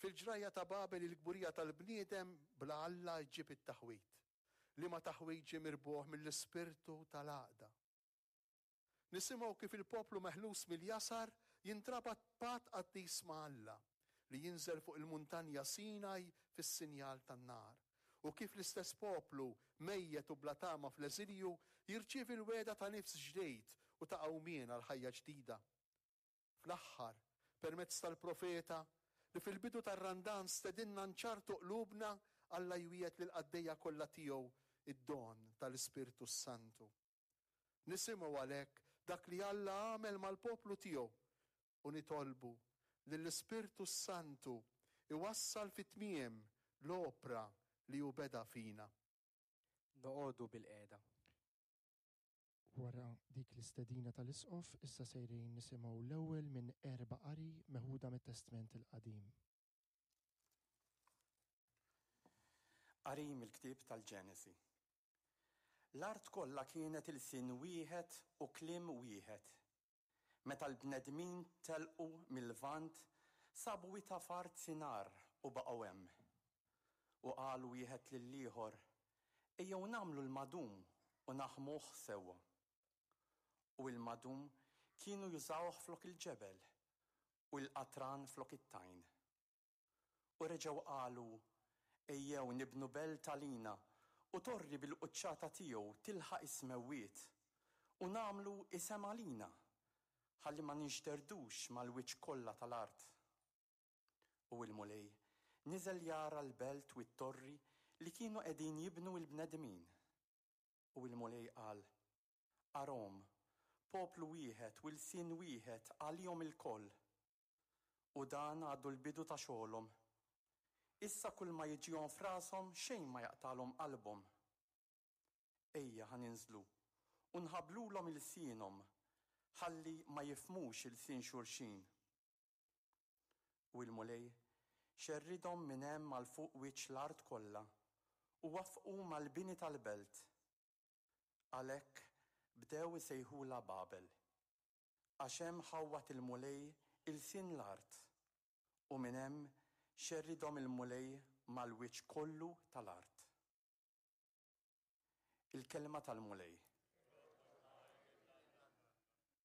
Fil-ġrajja ta' Babel il-kburija tal-bniedem bla Alla ġġib it-taħwid, liema taħwid ġie mirbuħ mill-ispirtu tal-għaqda. Nisimgħu kif il-poplu meħlus mill-jasar jintrabat b'patt qaddis ma' Alla, li jinżel fuq il-muntanja Sinaj fis-sinjal tan-nar, u kif l-istess poplu, mejjet u bla tama fl-eżilju, jirċievi l-wegħda ta' nifs ġdid u ta' qawmien għal ħajja ġdida. Fl-aħħar, permezz tal-profeta, li fil-bidu tar-Randan stedinna nċarrtu qlubna, Alla jwiegħed lill-qaddejja kollha tiegħu d-don tal-Ispirtu s-Santu. Nisimgħu għalhekk dak li Alla għamel mal-poplu tiegħu u nitolbu lill-Ispirtu s-Santu iwassal fit-tmiem l-opra li hu beda fina. Noqogħdu bilqiegħda. Wara dik l-istedina tal-Isqof, issa sejrin nisimgħu l-ewwel minn erba' qari meħuda mit-Testment il-Qadim. Qari mill-ktieb tal-Ġenesi. L-art kollha kienet ilsien wieħed u kliem wieħed. Meta l-bnedmin telqu mil-Lvant, sabu wita f'art Sinar u baqgħu hemm. U qalu wieħed lill-ieħor, Ejjew nagħmlu l-madum u naħmuh sewwa. U l-madum kienu jużawh flok il-ġebel, u l-qatran flok it-tajn. U reġgħu qalu, Ejjew nibnu belt għalina, u torri bil-quċċata tiegħu tilħaq is-smewwiet, u nagħmlu isem għalina, ħalli ma ninxterdux mal-wiċċ kollha tal-art. U l-Mulej niżel jara l-belt u t-torri li kienu qegħdin jibnu l-bnedmin. U l-Mulej qal, Arahom, poplu wieħed u lsien wieħed għalihom ilkoll. U dan għadu l-bidu ta' xogħolhom. Issa kulma jiġihom f'rashom xejn ma jaqtagħlhom qalbhom. Ejja ħa ninżlu u nħabblulhom ilsienhom ħalli ma jifhmux ilsien xulxin. U l-Mulej xerridhom minn hemm għal fuq wiċċ l-art kollha u waffqu mal-bini tal-belt. Għalhekk bdew isejħulha Babel, għax hemm ħawwad il-Mulej ilsien l-art, u minn hemm xerridhom il-Mulej mal-wiċċ kollu tal-art. Il-Kelma tal-Mulej.